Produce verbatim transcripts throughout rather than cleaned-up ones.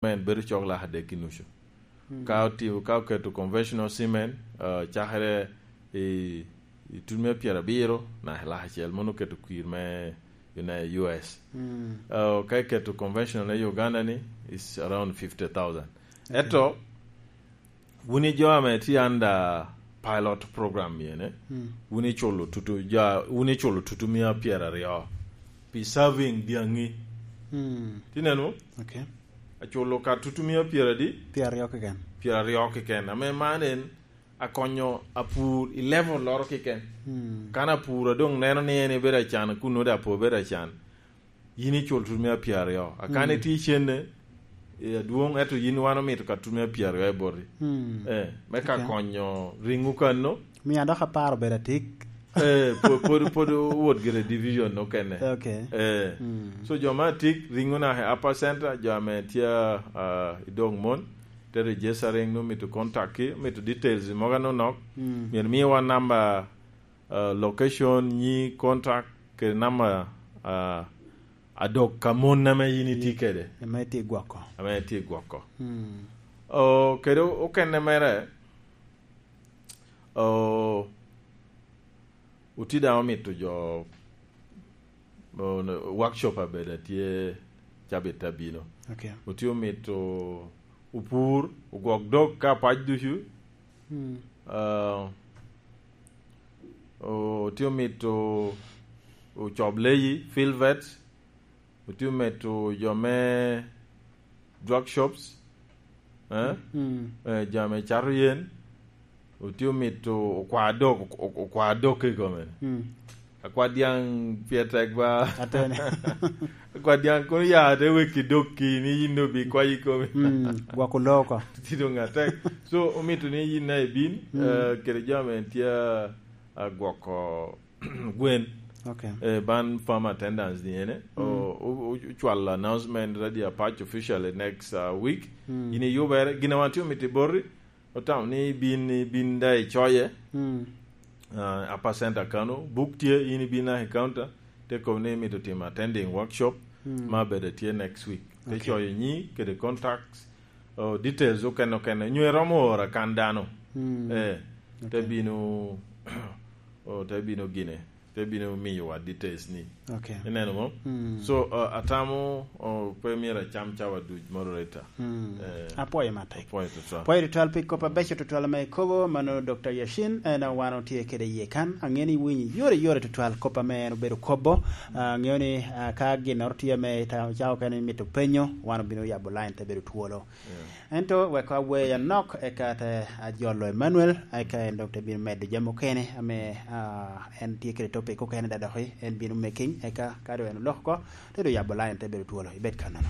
men bedo cok lak adek i nucu. Mm. Ka oti-, ka oketo conventional semen, ah, cakere i, i tut me pyerabiro naka lak acel, mono oketo kwir me, you know, U S. Mm. Ah, ka iketo conventional i Uganda ni, is around fifty thousand. Okay. Ento, wun i jo ame tye under pilot program ene, mm, wun iculo tutu, ja, wun iculo tutu mia pyeraryo pi serving dyaŋi. Mm. Tineno? Okay. Aculo ka tutu mia pyeradi? Pyeraryo keken. Pyeraryo keken. Ame man en akonyo apur i level loro keken. Mm. Kan apur a doŋ neno ni en ebedo acan, kun nwodo apo obedo acan. Yin icul tut me apyeraryo. Akan, mm, itye i cenne, eh, adwoŋ, ento yin wan omito ka tut me apyeraryo i boti. Mm. Eh, me ka, okay, konyo riŋo kanno. Miya dok apar obedo atik. Eh, po-, pod, pod owot gire division okene. Okay. Eh. Mm. So, jo ma atik, riŋo naka i Upper Center, jo ame tye, ah, i Dogmon, te register riŋ, omito contact ki, omito details mogo anonok. Mm. Myero miwa namba, ah, location, nyi, contact, kede namba, ah, adok ka mon ame yin itye kede. Ame itye gwoko. Ame itye gwoko. Mm. O, kede okene mere, o, otye daŋ omito jo, o, workshop abedo atye cabit abino. Okay. Otye omito opur, ogwok dok ka pac ducu. Mm. Ah, otye omito ocob leyi, field vets, otye omito jo me drug shops, eh? Mm. Eh, jo ame cato yen, otye omito okwa dok, ok-, ok-, okwa dok i kome. Mm. Akwa dyaŋ pye tek ba. Atene. Akwa dyaŋ kono ya te wek i dok ki ni yin obi kwayi kome. Mm, gwoko loo oko. Ti doŋ atek. So, omito ni yin na ibin, mm, eh, kede jo ame tye, ah, gwoko gwen. Okay. Eh, ban farm attendance ni ene. Mm. O, o, o, ocwalo announcement Radio Apac officially next, uh, week. Mm. Yin iyubere, gin a wan tye omito i boti, otamo ni ibin, ibin da icoye. Mm. Uh, Upper Center kano, buk tye, yin ibin naka i counter, te kobo ni imito timo attending workshop, mm, ma bede tye next week. Te, okay, coyo nyi kede contacts, oh, details okene okene. Nyo iromo oro akan dano. Mm. Eh, te, okay, bino, oh, te bino gine, te bino miyowa details ni. Okay. Ineno mo? Mm. So, uh, atamo, oh, pe myero acam cawa duc, moderator. Mm. Eh, apwoyo matek. Apwoyo tutwal. Apwoyo tutwal pi kop abeco tutwal ame ikobo, mano Doctor Yashin, en wan otye kede iye kan. Aŋeo ni iwinyo yore yore tutwal kop ame en obedo kobo. Ah, aŋeo ni, ah, ka ginnoro tye ame ita-, cawa okene imito penyo, wan obino yabo line te bedo twolo. Yeah. Ento wek awer anok, eka te ajolo Emmanuel, eka en dok te bino medo jami okene ame, ah, en tye kede topic okene da doki, en bino making, eka ka doŋ en oloko oko, te doŋ yabo line te bedo twolo. Ibed kannono.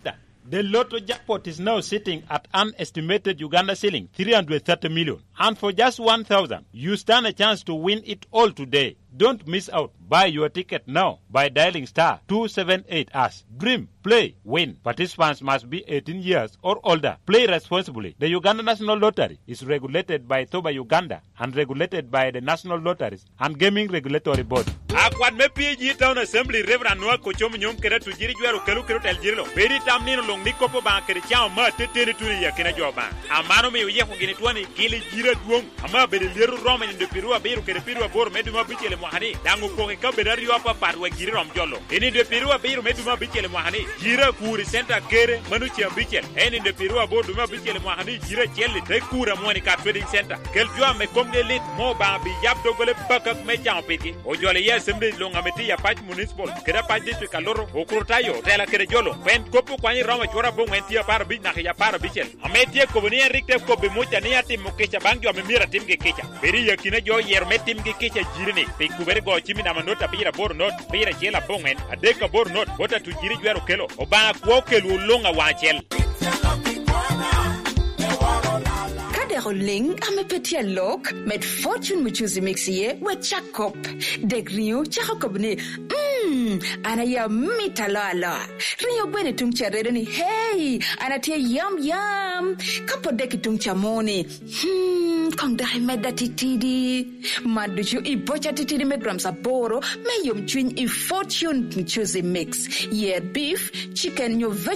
Yeah. The lotto jackpot is now sitting at an estimated Uganda shilling three hundred thirty million. And for just one thousand, you stand a chance to win it all today. Don't miss out. Buy your ticket now by dialing star two seven eight hash. Dream, play, win. Participants must be eighteen years or older. Play responsibly. The Uganda National Lottery is regulated by Thoba Uganda and regulated by the National Lotteries and Gaming Regulatory Board. Akwat me P A G Town Assembly, Reverend Noah Kochom Nyom kede Atujiri Jwero Kelu kede otel jiri lo. Bedo i tam nino luŋ ni kop Obaŋa kede cawa me ateteni tuno i akina jo Obaŋa. Aman omio oyeko gini twon i gil i jiri adwoŋ ame abedo i lyeto Roma i nino pyeraryo abiro kede pyeraryo aboro me dwe me abicel i mwaka ni, daŋ opoko i kabedo aryo apapat wek jiri rom jolo. I nino pyeraryo abiro me dwe me abicel i mwaka ni, jiri akur i center Kere, mano ceng abicel. En i nino pyeraryo aboro dwe me abicel i mwaka ni, jiri acel-li te kur amwon i ka Trading Center. Kel jo ame komgi lit, mo Obaŋa bi yab doggola i bakak me caŋo pigi. Ojolo iye Assembly luŋ ame tye i Apac Municipal kede Apac District Aluto, Okrutayo, otela kede jo luŋ. Pien kop okwanyo i Roma cwor aboŋwen tye apar abic naka i apar abicel. Ame tye kobo ni en rik te kobbi Muca ni atimo kica baŋ jo ame myero atimgi kica. Bedo i akina jo oyero me timgi kica jiri ni, pi kubere go cim i namba not abiro aboro not, abiro acel aboŋwen, adek aboro not, bot Atujiri Jwero Kelo. Obaŋa kwo okelwu luŋ awaŋ acel. Ka dek oliŋ ame pe tye alok, med Fortune Muchuzi Mix iye, wek cak kop. Dek riŋo cako kop ni, "Mm, an aye amit aloa aloa." Riŋo gweno i tuŋ ca redo ni, "Hey, an atye yam yam." Ka pot dek i tuŋ ca mo ni, "Hmm, koŋ dok imedda titidi. Mad ducu i boca titidi me grams aboro me yomcwiny i Fortune Juicy Mix. Yer beef, chicken nyo veg